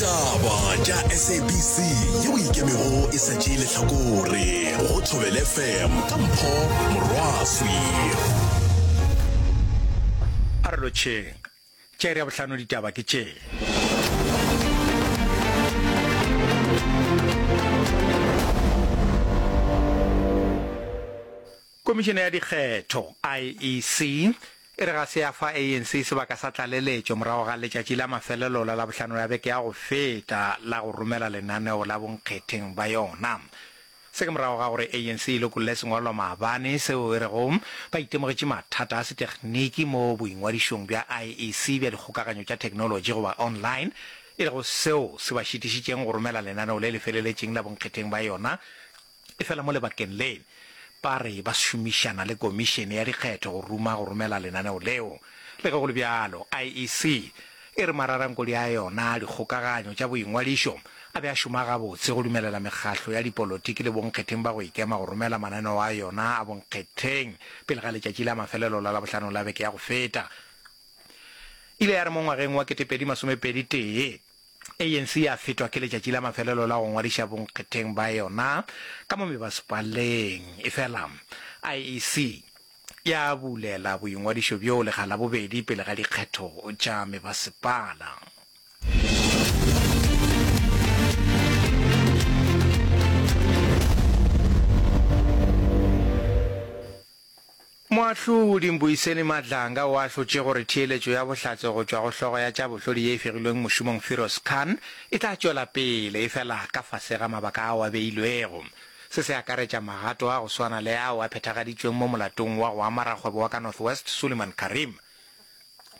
Ditaba tša SABC yeo e ikemego e sa tšee lehlakore go Thobela FM ka Mpho Morwaswi. A re lotšheng. Tša iri ya bohlano ditaba ke tše. Komišene ya Dikgetho, IEC, e re ga se ya fa ANC sebaka sa tlaleletšo morago ga letšatši la mafelelo la Labohlano la beke ya go feta la go romela lenaneo la bonkgetheng ba yona. Se ke morago ga gore ANC e lokolle sengwalwa maabane seo e rego ba itemogetše mathata a setegniki mo boingwadišong bja IEC bja dikgokaganyo tša theknolotši goba online, e lego seo se ba šitišitšeng go romela lenaneo le le feleletšeng la bonkgetheng ba yona Efela mo lebakeng le, ba re ba šomišana le Komišene ya Dikgetho go ruma go romela lenaneo leo. Le ge go le bjalo, IEC e re mararankodi a yona a dikgokaganyo tša boingwadišo a be a šoma gabotse go dumelela mekgahlo ya dipolotiki le bonkgetheng ba go ikema go romela mananeo a yona a bonkgetheng pele ga letšatši la mafelelo la Labohlano la beke ya go feta. E ile ya re mo ngwageng wa 2021, ANC ya fetwa ke letšatši la mafelelo la go ngwadiša bonkgetheng ba yona ka mo mebasepaleng, efela IEC ya bulela boingwadišo bjoo lekga la bobedi pele ga dikgetho tša mebasepala. Moahlodi Mbuyiseni Madlanga o ahlotše gore theeletšo ya bohlatse go tšwa go hlogo ya tša bohlodi ye e fegilweng mošomong Firoz Khan e tla tšwela pele efela ka fase ga mabaka ao a beilwego. Se se akaretša magato a go swana le ao a phethagaditšweng mo molatong wa go ama rakgwebo wa ka North West Suleiman Carrim.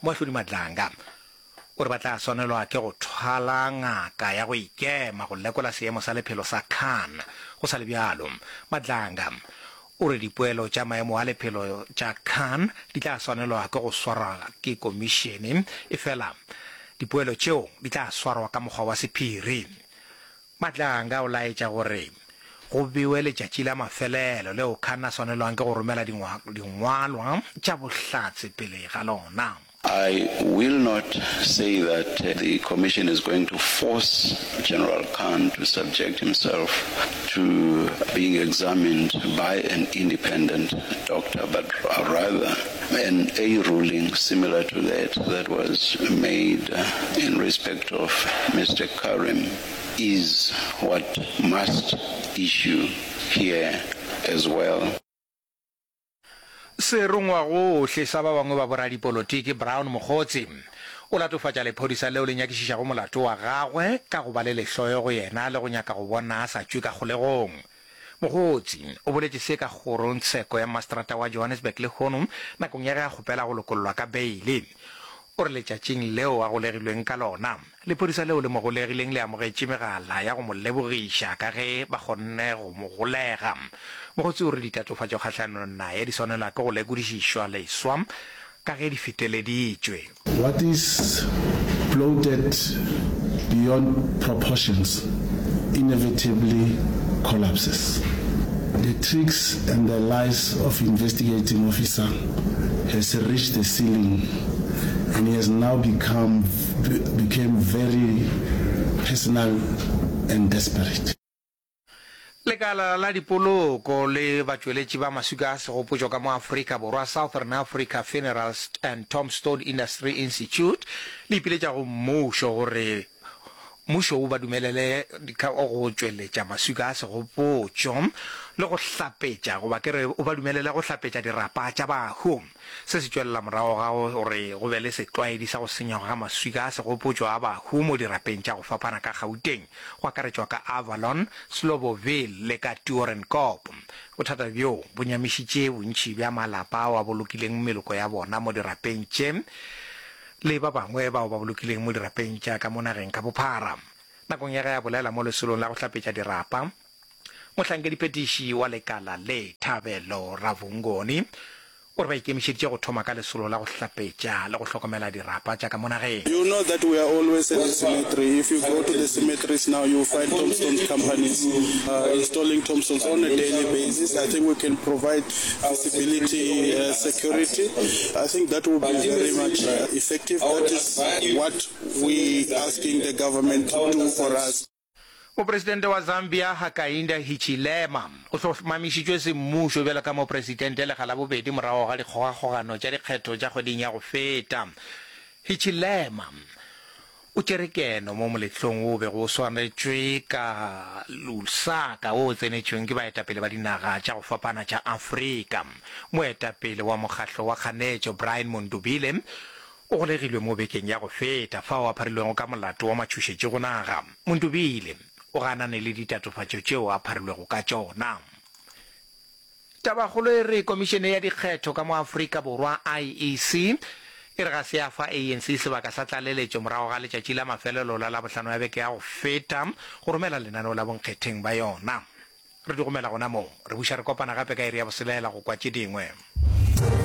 Moahlodi Madlanga O re ba tla swanelwa ke go thwala ngaka ya go ikema go lekola seemo sa lephelo sa Khan. Go sa le bjalo, Madlanga o re dipoelo tša maemo a lephelo tša Khan di tla swanelwa ke go swarwa ke komišene, efela dipoelo tšeo di tla swarwa ka mokgwa wa sephiri. Madlanga o laetša gore go bewe letšatši la mafelelo leo Khan a swanelwang ke go romela dingwalwa tša bohlatse pele ga lona. I will not say that the commission is going to force General Khan to subject himself to being examined by an independent doctor, but rather an a ruling similar to that that was made in respect of Mr Carrim is what must issue here as well. Serongwagohle sa ba bangwe ba boradipolotiki Brown Mogotsi o latofatša lephodisa leo le nyakišišago molato wa gagwe ka go ba le lehloyo go yena le go nyaka go bona a sa tšwe ka kgolegong. Mogotsi o boletše se ka kgorongtsheko ya maseterata wa Johannesburg lehono nakong ya ge a kgopela go lokollwa ka beile. O re letšatšing leo a golegilweng ka lona, lephodisa leo le mo golegileng le amogetše megala ya go mo lebogiša ka ge ba kgonne go mo golega. Mogotsi o re ditatofatšo kgahlanong naye di swanelwa ke go lekodišišwa leswa ka ge di feteleditšwe. What is bloated beyond proportions inevitably collapses. The tricks and the lies of investigating officer has reached the ceiling and he has now become became very personal and desperate. Lekala la dipoloko le batšweletši ba maswika a segopotšo ka mo Afrika Borwa, Southern Africa Funeral and Tombstone Industry Institute, le ipiletša go mmušo gore mmušo o ba dumelele go tšweletša maswika a segopotšo le go hlapetša goba ke re o ba dumelele go hlapetša dirapa tša bahu. Se se tšwelela morago ga gore go be le setlwaedi sa go senywa ga maswika a segopotšo a bahu mo dirapeng tša go fapana ka Gauteng, go akaretšwa ka Avalon, Sloboville le ka Toerenkop. Bothata bjo bo nyamišitše bontši bja malapa ao a bolokileng meloko ya bona mo dirapeng tše le ba bangwe bao ba bolokileng mo dirapeng tša ka mo nageng ka bophara. Nakong ya ge a bolela mo lesolong la go hlapetša dirapa, mohlankediphethiši wa lekala le, Thabelo Ravhungoni, O re ba ikemišeditše go thoma ka lesolo la go hlapetša le go hlokomela dirapa tša ka mo nageng. You know that we are always at the cemetery. If you go to the cemeteries now, you will find tombstones companies installing tombstones on a daily basis. I think we can provide visibility, security. I think that will be very much effective. That is what we asking the government to do for us. Mopresidente wa Zambia Hakainde Hichilema o hlomamišitšwe semmušo bjalo ka mopresidente lekga la bobedi morago ga dikgogakgogano tša dikgetho tša kgweding ya go feta. Hichilema o tšere keno mo moletlong wo o bego o swaretšwe ka Lusaka wo o tsenetšweng ke baetapele ba dinaga tša go fapana tša Afrika. Moetapele wa mokgahlo wa kganetšo Brian Mundubile O golegilwe mo bekeng ya go feta fao a pharilwego ka molato wa matšhošetši go naga. Montubile o ganane le ditatofatšo tšeo a pharilwego ka tšona. Tabakgolo e re Komišene ya Dikgetho ka mo Afrika Borwa, IEC, e re ga se ya fa ANC sebaka sa tlaleletšo morago ga letšatši la mafelelo la Labohlano ya beke ya go feta go romela lenaneo la bonkgetheng ba yona. Re di gomela gona moo. Re buša re kopana gape ka iri ya boselela go kwa tše dingwe.